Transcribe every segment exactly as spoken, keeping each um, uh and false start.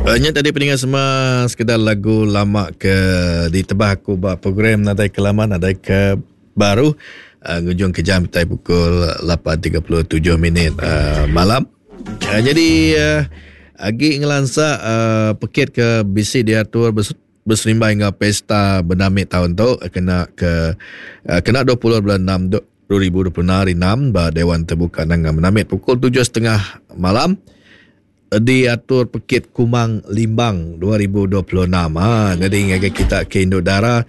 Uh, nya tadi peninga semua sekedar lagu lama ke ditebah aku ba program nadai ke lama nadai ke baru uh, ngujung ke jam kitai pukul lapan tiga puluh tujuh minit uh, malam. Uh, jadi uh, agi ngelansa uh, pekit ke bisi diatur bes- berserimbai enggau pesta Benamit tahun tu kena ke uh, kena dua puluh bulan enam dua ribu dua puluh enam hari enam ba Dewan Terbuka Nanga Benamit pukul tujuh setengah malam diatur pekit Kumang Limbang dua ribu dua puluh enam. Ha, jadi ngagai kita ke Induk Dara,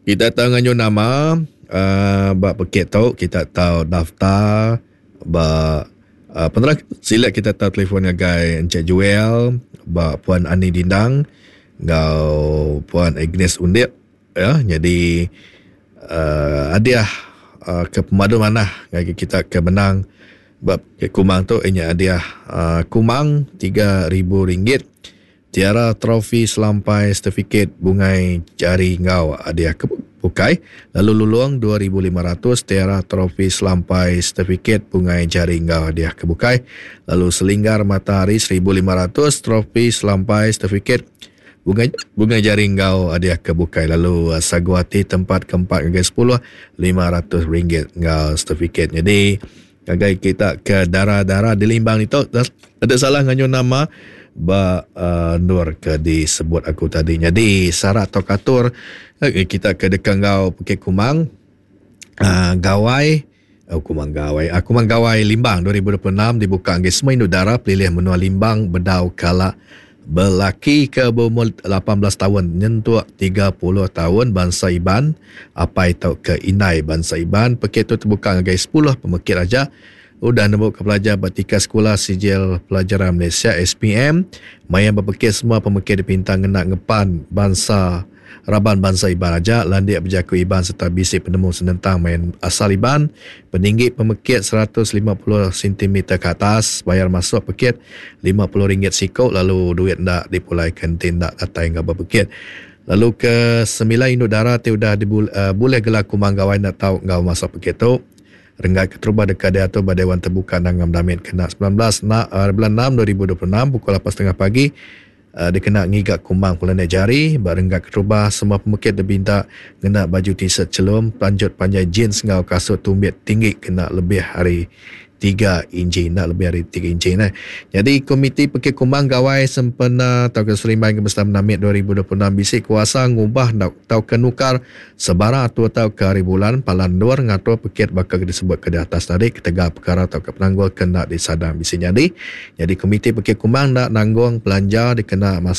kita tahu nganyu nama uh, ba pekit tu, kita tahu daftar ba uh, penerang sila kita tahu telefon ngagai Encik Joel, ba Puan Ani Dindang ngau Puan Agnes Undip ya. Jadi uh, hadiah uh, ke pemadu manah ngagai kita ke menang bab Kumang tu inya hadiah uh, Kumang tiga ribu ringgit, tiara trofi selampai sertifikat bungai jari ngau hadiah ke bukai, lalu lulung dua ribu lima ratus tiara trofi selampai sertifikat bungai jari ngau hadiah ke bukai, lalu selinggar matahari seribu lima ratus trofi selampai sertifikat bungai, bungai jari ngau hadiah ke bukai, lalu uh, saguati tempat keempat hingga sepuluh lima ratus ringgit ngau sertifikat. Jadi agai kita ke darah-darah di Limbang itu ada salah nganyu nama ba uh, nur ke disebut aku tadi. Jadi syarat atau katur eh, kita ke dekat ngau Pekit Kumang uh, Gawai oh, Kumang Gawai uh, Kumang Gawai Limbang dua ribu dua puluh enam dibuka angge semua induk darah pelilih menua Limbang bedau kala belaki ke berumur lapan belas tahun nyentuk tiga puluh tahun bangsa Iban apai tau ke indai bangsa Iban. Pekit tu terbuka ngagai sepuluh pemekit aja. Udah nemu ke pelajar bertika sekolah sijil pelajaran Malaysia S P M. Maya berpekit semua pemekit dipinta ngena ngepan bangsa raban bangsa Iban aja, landik berjaku Iban serta bisi penemu senentang main asal Iban. Peninggi pemekit seratus lima puluh sentimeter ke atas, bayar masuk pekit lima puluh ringgit siko, lalu duit ndak dipulai ke tindak datai ngau berpekit. Lalu ke sembilan induk dara ti udah dibul, uh, boleh gelar Kumang Gawai nak tau ngau masuk pekit tu. Renggat keterubah dekat diatur pada Dewan Terbuka Nangam Damit kena sembilan belas na, uh, bulan enam dua ribu dua puluh enam pukul lapan setengah pagi. Uh, dikena ngigak kumang pulane jari barenggat keterubah semua pemekit dibinta ngena baju t-shirt celum lanjut panjai jeans ngau kasut tumbit tinggi kena lebih hari tiga inci, nak lebih hari tiga inci nah. Jadi komiti Pekit Kumang Gawai sempena tau ke Serimbai ke Besar Menamit dua ribu dua puluh enam bisi kuasa ngubah tau ke nukar sebara atau tau ke hari bulan palan luar ngatur pekit bakal disebut ke di atas tadi ketegal perkara tau ke penanggul kena disadang bisi jadi. Jadi komiti Pekit Kumang nak nanggung belanja dikena